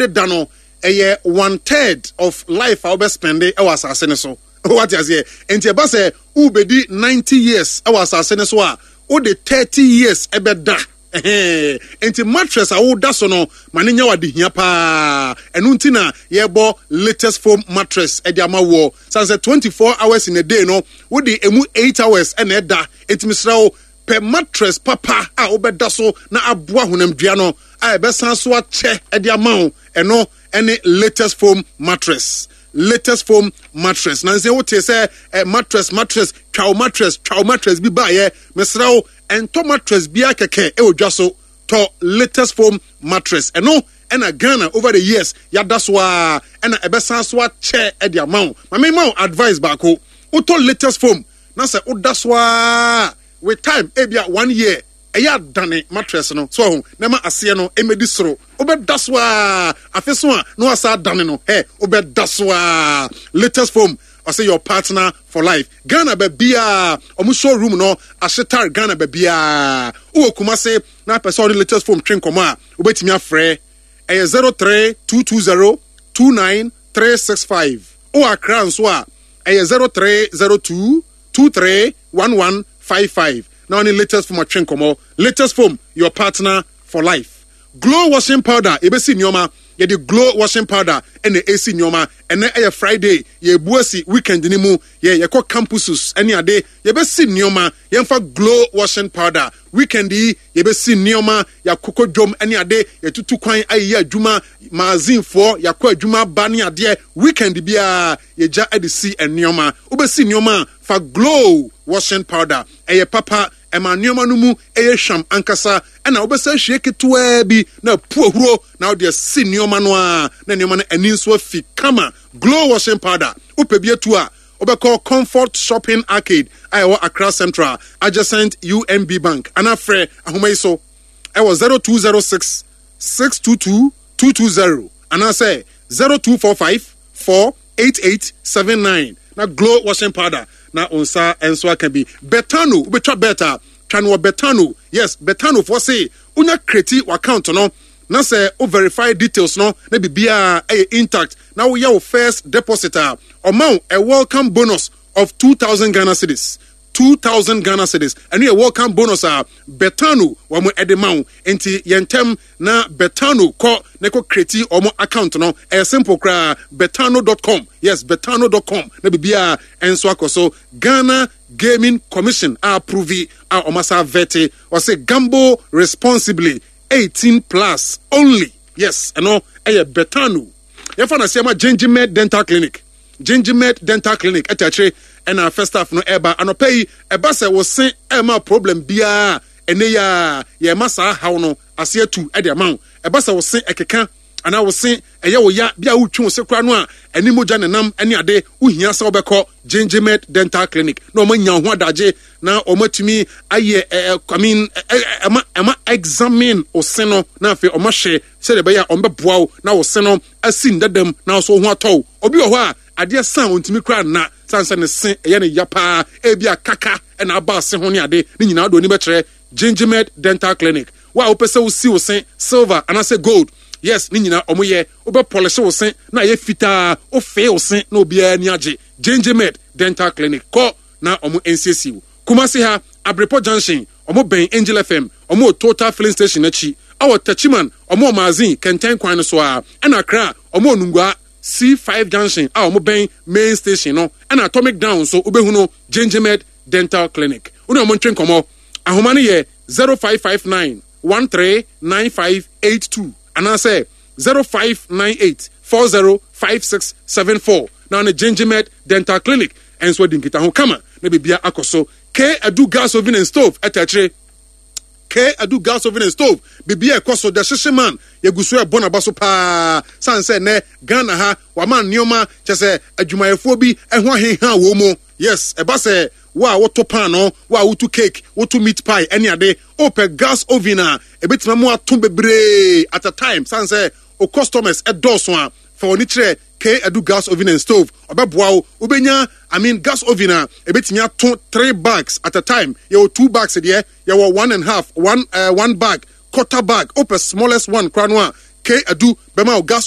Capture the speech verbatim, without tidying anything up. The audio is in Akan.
wode da no ɛyɛ one third of life a wobɛ spend ɛwɔ asase no so. Wate aseɛ? Nti ɛba sɛ wobɛdi ninety years ɛwɔ asase no so a, wode thirty years ɛbɛda. Ɛhɛn. Nti mattress a woda so no, ma ne nyɛ wade hia paa. Ɛno nti na yɛbɔ Latest Foam mattress ɛde ama wɔ san sɛ twenty four hours in a day no, wode emu eight hours ɛna ɛda. Nti mesrɛ wo, pɛ mattress papa a wobɛda so na aboa honamdua no a ɛbɛsan so akyɛ ɛde ama wo. Ɛno ɛne Latest Foam mattress. Latest Foam mattress na nsɛ wote sɛ eh, mattress, mattress, twa wo mattress, twa wo mattress bi baayɛ. Mesrɛ wo, ɛntɔ mattress biara kɛkɛ ɛwɔ dwa so. Tɔ Latest Foam mattress. Ɛno ɛna Ghana over the years yɛada so a ɛna ɛbɛsan so akyɛ ɛde ama wo. Maame, ma wo advice baako: wotɔ Latest Foam na sɛ woda so a, with time, ebia one year, ɛyɛ adane mattress no so ɔho na ma aseɛ no ɛmɛdi soro. Wobɛda so a, afe so a, na wasa adane no ɛ wobɛda so a. Latest Foam ɔsɛ your partner for life. Ghana baabiaa, ɔmo showroom no ahyetar Ghana baabiaa. Wowɔ Kumase na apɛ sɛ ɔde Latest Foam twe nkɔmmɔ a, wobɛtumi afrɛ, ɛyɛ zero three two two zero two nine three six five. Wowɔ Accra nso a, ɛyɛ zero three zero two two three one one five five na ɔne Latest Foam atwe nkɔmmɔ. Latest Foam, your partner for life. Glow washing powder, yɛbɛsi nneɛma. Yɛde Glow washing powder ɛna ɛsi nneɛma. Ɛnɛ ɛyɛ Friday, yɛbu asi weekend ni mu, yɛ yɛkɔ campuses ɛne ade, yɛbɛsi nneɛma. Yɛmfa Glow washing powder. Weekend yi yɛbɛsi nneɛma, yɛakokɔ dwom ɛne ade, yɛtutu kwan ayɛyɛ adwuma, maazinfoɔ yɛakɔ adwuma ba ne adeɛ. Weekend biara yɛgya ɛde si nneɛma. Wobɛsi nneɛma a, fa Glow washing powder. Ɛyɛ papa, ɛma nneɛma no mu ɛyɛ hwam ankasa. Ɛna wobɛsɛ hwie ketewaa bi na apu ahuro na wode asi nneɛma no a, na nneɛma no ani nso afi kama. Glow washing powder, wopɛ bi atu a, wobɛkɔ Comfort Shopping Arcade a ɛwɔ Accra Central, adjacent U M B Bank, anaa frɛ ahoma yi so ɛwɔ zero two zero six six two two two two zero anaasɛ zero two four five four eight eight seven nine na Glow washing powder na wo nsa nso aka bi. Betano, wobɛtwa bet a, twa no wɔ Betano. Yes, Betano foɔ se wonya create account no na sɛ wo verify details no na biribiara ɛyɛ intact na woyɛ wo first deposit a, ɔma wo a welcome bonus of two thousand Ghana cedis. two thousand Ghana cedis, ɛno yɛ welcome bonus a Betano wɔn ɛde ma wo. Nti yɛn ntɛm na Betano kɔ na kɔ create wɔn account no. Ɛyɛ simple koraa, betano dot com. Yes, betano dot com na biribiara ɛnso akɔ so. Ghana Gaming Commission a approve a wɔn asa vet. Ɔsɛ gamble responsibly, eighteen plus only. Yes, ɛno ɛyɛ Betano. Yɛfa na seɛma Gingimed Dental Clinic. Gingimed Dental Clinic ɛta akyire ɛna first half no ɛba anɔpɛ yi. Ɛba sɛ wɔse ɛma problem biara, ɛnɛ yi a yɛma saa haw no ase atu ɛde ama wo. Ɛba sɛ wɔse ɛkeka anaa wɔse ɛyɛ wo ya bi a, wotwe wo se kora no a, ɛne mogya nenam ɛne ade, wohia sɛ wobɛkɔ Gingimed Dental Clinic na ɔma nya wo ho adagye na ɔma tumi ayɛ ɛ I mean ɛma ɛma examine wo se no na afei ɔma hwɛ sɛdeɛ ɛbɛyɛ a ɔmbɛboa wo na wo se no asi ndadam na so ho atɔ wo. Obi wɔ hɔ a, adeɛ san ontumi kora nna san sɛ ne se ɛyɛ ne ya paa, ebi a kaka ɛna aba ase ho ne ade ne nyinaa do ani bɛkyerɛ Gingimed Dental Clinic. Wo a wopɛ sɛ wosi wo se silver anaasɛ gold, yes, ne nyinaa ɔmo yɛ. Wobɛ polish wo se na ayɛ fitaa, wofee wo se na obiara ani agye. Gingimed Dental Clinic, kɔ na ɔmo nsiesie wo. Kumasi ha, Abrepɔ Junction, ɔmo bɛn Angel F M, ɔmo wɔ Total filling station akyi. Ɛwɔ Techiman, ɔmo wɔ Mazin kɛntɛn kwan no so a. Ɛna Accra, ɔmo wɔ Nungua C five junction a ɔmo bɛn main station no. Ɛna Atomic Down nso, wobɛhu no Gingimed Dental Clinic. Wone ɔmo ntwe nkɔmmɔ. Ahoma no yɛ zero five five nine one three nine five eight two anaasɛ zero five nine eight four zero five six seven four na ne Gingimed Dental Clinic ɛnso adi nkitaho kama na biribia akɔ so. K Adu Gas Oven and Stove ɛta akyire. K Adu Gas Oven and Stove, biribi a ɛkɔ so, the hyehye man, yɛgu so ɛbɔ n'aba so paa san sɛ nnɛ Ghana ha wama nneɛma kyɛ sɛ adwumayɛfoɔ bi ɛho aheha wɔ mu. Yes, ɛba sɛ wo a woto paano, wo a woto cake, woto meat pie ɛne ade, wopɛ gas oven a ebɛtumi mu ato bebree at a time san sɛ o customers ɛdɔɔso a, fa wɔn ani kyerɛ K Adu Gas Oven and Stove. Ɔbɛboa wo. Wobɛnya, I mean, gas oven a ebɛtumi ato three bags at a time. Yɛwɔ two bags deɛ, yɛwɔ one and half, one uh, one bag, quarter bag. Wopɛ smallest one koraa no a, K Adu bɛma wo gas.